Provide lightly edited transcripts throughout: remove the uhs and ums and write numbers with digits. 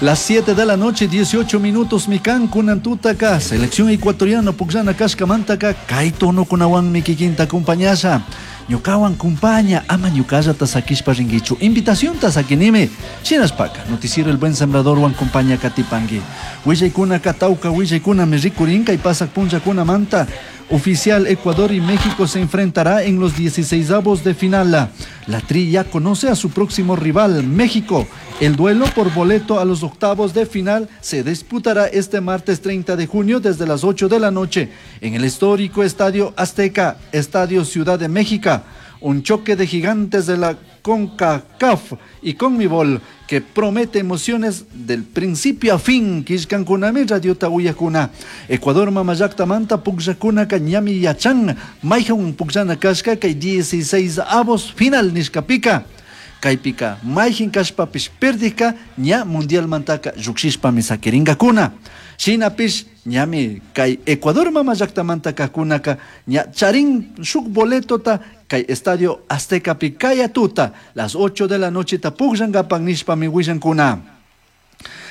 Las 7 de la noche, 18 minutos, mikan kunan tutaka, selección ecuatoriana pukllana kashkamantaka, kay tonokunawanmi kikinta acompañasha. Ñukawan kumpaña, ama ñukallata sakishpa ringuichu. Invitacionta sakinimi. Shinashpaka, noticiero El Buen Sembradorwan kumpaña katipangi. Willaykunaka tawka willaykunami rikurin kay pasak punllakunamanta. Oficial Ecuador y México se enfrentará en los 16avos de final. La Tri ya conoce a su próximo rival, México. El duelo por boleto a los octavos de final se disputará este martes 30 de junio desde las 8 de la noche en el histórico Estadio Azteca, Estadio Ciudad de México. Un choque de gigantes de la CONCACAF y CONMEBOL que promete emociones del principio a fin. Kishkankunami radiota uyakuna. Ecuador mamallakta manta pukllakuna ñami yachan. Mayhan pukllana kashka kay 16 avos final nishkapika. Kaypika mayjin kashpapish perdika ña mundialmantaka llukshishpami sakiringakuna. Shinapish ñami kay Ecuador mamallaktamanta kajkunaka ña charin shuk boletota kay Estadio Aztecapi kaya tuta las 8 de la noche ta pukllankapak nishpami willankuna.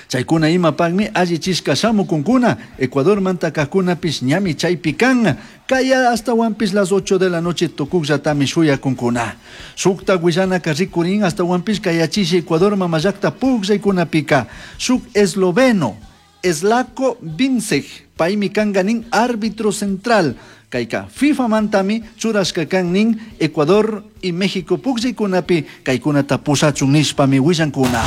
Chaykuna imapakmi allichishka shamukunkuna Ecuadormanta kajkunapish ñami chaypi kan kaya ashtawanpish las 8 de la noche tukukllatami shuyakunkuna. Shukta willanaka rikurin ashtawanpish kayachishi Ecuador mamallakta pukllaykunapika shuk esloveno Slavko Vincic paymi kanka nin árbitro central kayka FIFA mantami churashka kan nin Ecuador y México pukllaykunapi kaykunata pushachun nishpami willankuna.